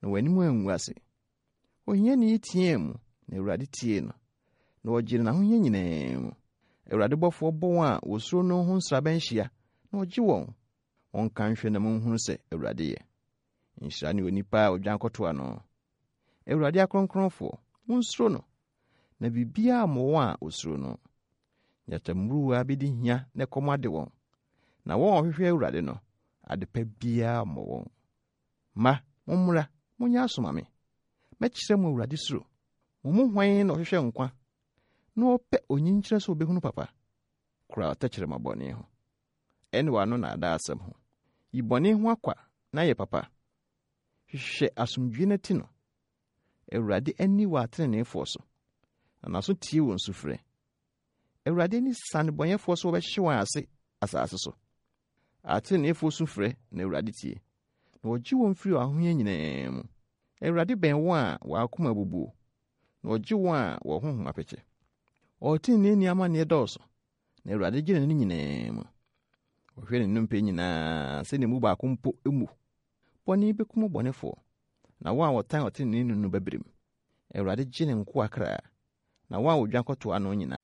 na wɔn anim angu ase. Ohiani teɛɛ mu, na Awurade tiee no, na ɔgyee no n'ahohia nyinaa mu. Awurade bɔfoɔ bɔ wɔn a wɔsuro no ho nsraban hyia, na ɔgye wɔn. Monka nhwɛ na monhunu sɛ Awurade yɛ. Nhyira ne onipa a odwan kɔtoa no. Awurade akronkronfoɔ, monsuro no, na biribiara mmɔ wɔn a wɔsuro no. Nyatammuruwa bɛdi hia na ɛkɔm ade wɔn, na wɔn a wɔhwehwɛ Awurade no, adepa biara mmɔ wɔn. Mma, mommra, monyɛ aso ma me. Mɛkyerɛ mo Awurade suro. Mo mu hwan na ɔhwehwɛ nkwa, na ɔpɛ onyinkyerɛ sɛ obehunu papa? Kora wo tɛkyerɛma bɔne ho, ɛne w'ano nnaadaa asɛm ho. Yi bɔne ho akwa na yɛ papa. Hwehwɛ asomdwoe na ti no. Awurade ani wɔ atreneefoɔ so, na n'aso tie wɔn sufrɛ. Awurade ani sa nnebɔneyɛfoɔ so wɔbɛhye wɔn ase asase so. Atreneefoɔ su frɛ na Awurade tie, na ɔgye wɔn firi ahohia nyinaa mu. Awurade bɛn wɔn a wɔn akoma abubuo, na ɔgye wɔn a wɔn honhom apete. Ɔteneneeni amanneɛ dɔɔso, na Awurade gye no ne nyinaa mu. Ɔhwɛ ne nnompe nyinaa sɛ ne mu baako mpo mmu. Bɔne bɛkum ɔbɔnefoɔ, na wɔn a wɔtan ɔteneneeni no bɛbrem. Awurade gye ne nkoa kra, na wɔn a wɔdwan kɔtoa no nyinaa.